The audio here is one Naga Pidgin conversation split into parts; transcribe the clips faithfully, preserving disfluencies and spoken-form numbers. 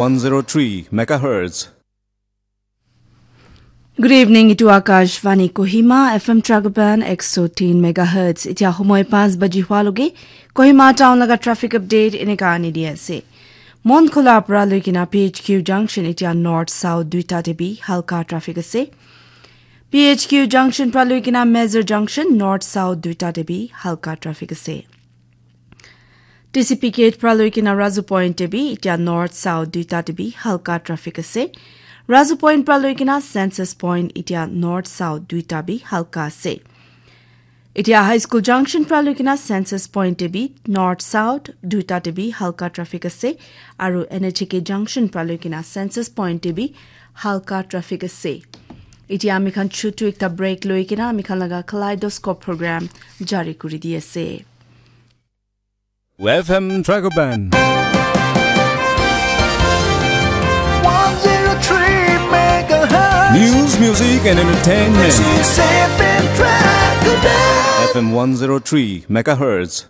one zero three megahertz. Good evening, itu Akashvani Kohima, F M Tragoban, ek so tin megahertz. Itia homoi panch baji hua loge, Kohima town laga traffic update eneka ani di ase. Mon Khola pra loikena P H Q junction itia north south duita te bi halka traffic ase. P H Q junction pra loikena Major junction north south duita te bi halka traffic ase. T C P gate pra loikena Razu Point te bi itia north south duita te bi halka traffic ase. Razu Point pra loikena Census Point itia north south duita bi halka ase. Itia High School junction pra loikena Census Point te bi north south duita te bi halka traffic ase. Aru N H A K junction pra loikena Census Point te bi halka traffic ase. Itia ami khan chutu ekta break loikena ami khan laga Kaleidoscope program jari kuri di ase. F M Tragoban. One zero three megahertz. News, music, and entertainment. This is F M Tragoban. F M one zero three megahertz.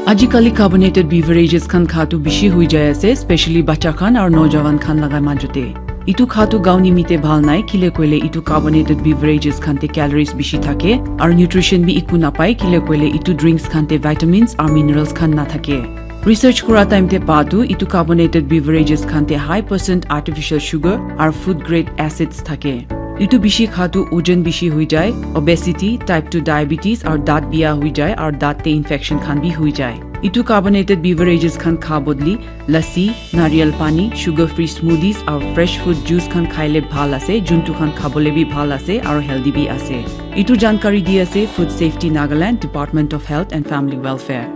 Ajikali carbonated beverages khan khatu bishi hui jai ase, specially bacha khan aru nojawan khan laga majute. Itu khatu gauni mite bhal nai, kile koile itu carbonated beverages khan te calories bishi thake, aru nutrition bi iku napai, kile koile itu drinks khan te vitamins aru minerals khan na thake. Research kura time te pa tu itu carbonated beverages khan te high percent artificial sugar aru food grade acids thake. Itu bishi khatu ojan bishi hui jai, obesity, type two diabetes aru daat biya hui jai aru daat te infection khan bi hui jai. Itu carbonated beverages khan kha bodli lassi, nariyal pani, sugar free smoothies aru fresh fruit juice khan khaile bhal ase, juntu khan khabole bi bhal ase aru healthy bi ase. Itu jankari di ase Food Safety Nagaland, Department of Health and Family Welfare.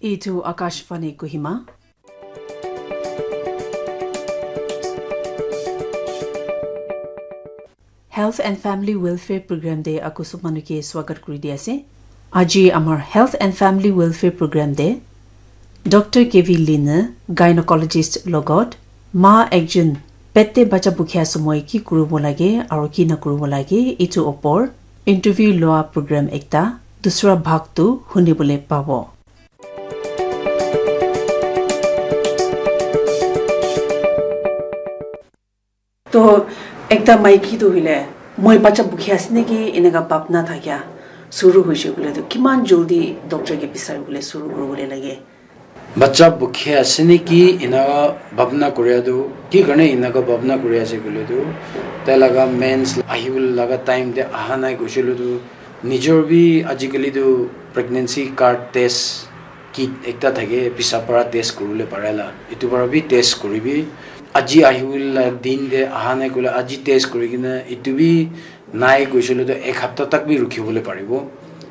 Itu Akashvani Kohima. Health and Family Welfare Program te aku sob manu ke swagat kuri di ase. Aji amar Health and Family Welfare Program te Doctor K V Line, gynecologist logot, ma ekjon pet te bacha bukhia somoi ki kuribo lage aru ki na kuribo lage, itu opor interview loa program ekta dusra bhag tu hunibole pabo. To ekta maiki tu hoile, "Moi bacha bukhi ase niki?" eneka bhabna thakia suru hoise koile tu kiman jaldi doctor ke bisari bole suru kuribole lage? Bacha bukhi ase niki eneka bhabna koria tu, ki karne eneka bhabna kuri ase koile tu, tai laga mens ahibole laga time te aha nai koise koile tu, nijor bi ajikali tu pregnancy card test kit ekta thake, pisap para test kuribole pare la, etu para bi test kuribi. Aji ahibole la din te aha nai koile aji test kuri kena etu bi nai koise koile tu ek hapta tak bi rukhi bole paribo.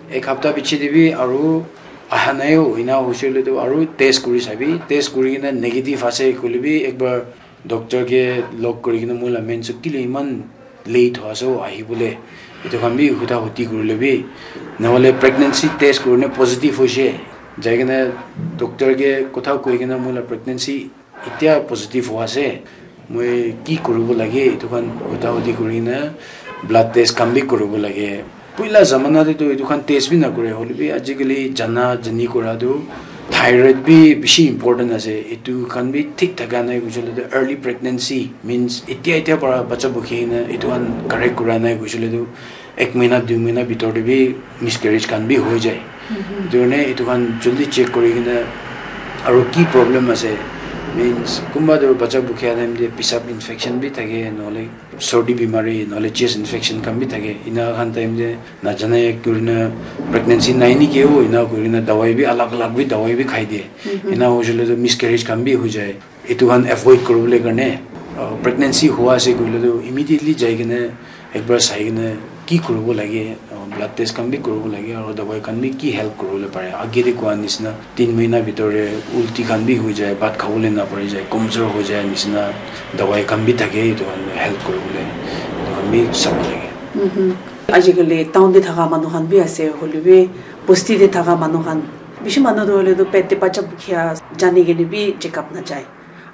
Ek hapta piche te bi aru aha nai ho, ena hoise koile tu aru test kuri sabi, test kuri kena negative ase koile bi ekbar doctor ke log kuri kena moi la mens kile eman late ho ase ho ahibole, etu khan bi huda hudi kurile bi, nahole pregnancy test kurine positive hoise, jai kena doctor ke kotha koi kena moi la pregnancy etia positive ho ase, moi ki kuribo lage, etu khan huda hudi kuri kena blood test khan bi kuribo lage. Puila zamana te tu etu khan test bi nakore, hoile bi ajikali jana jani kura tu thyroid bi bishi important ase. Etu khan bi thik thaka nai koise koile tu early pregnancy means etia etia para bacha bukhi kena etu khan correct kura nai koise koile tu ek mahina dui mahina bitor te bi miscarriage khan bi hoi jai. Etu karne etu khan jaldi check kuri kena aru ki problem ase, means kunba tu bacha bukhia time te pisap infection bi thake, nahole sordi bimari, nahole chest infection khan bi thake. Ena khan time te najane kurina pregnancy nai niki ho, ena kurina dawai bi alag alag bi dawai bi khai diye. Ena hoise koile tu miscarriage khan bi hoi jai. Etu khan avoid kuribole karne, uh, pregnancy hua ase koile tu immediately jai kena ekbar sai kena ki kuribo lage, uh, blood test khan bi kuribo lage, aru dawai khan bi ki help kuribole pare. Age te kua nisna tin mahina bitor te ulti khan bi hoi jai, bhat khabole na pari jai, komjor hoi jai nisna dawai khan bi thake, etu khan help kuribole, etu khan bi sabo lage. Ajikali town te thaka manu khan bi ase, hoile bi bosti te thaka manu khan, bishi manu tu hoile tu pet te bacha bukhia jani kene bi check up na jai.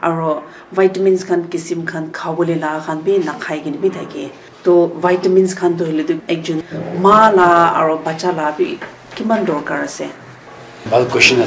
Aro vitamins khan kisim khan khabole la khan bi nakhai kene bi thake. To vitamins khan to hoile tu ekjon ma la aro bacha la bi kiman dorkar ase? Bhal question ase.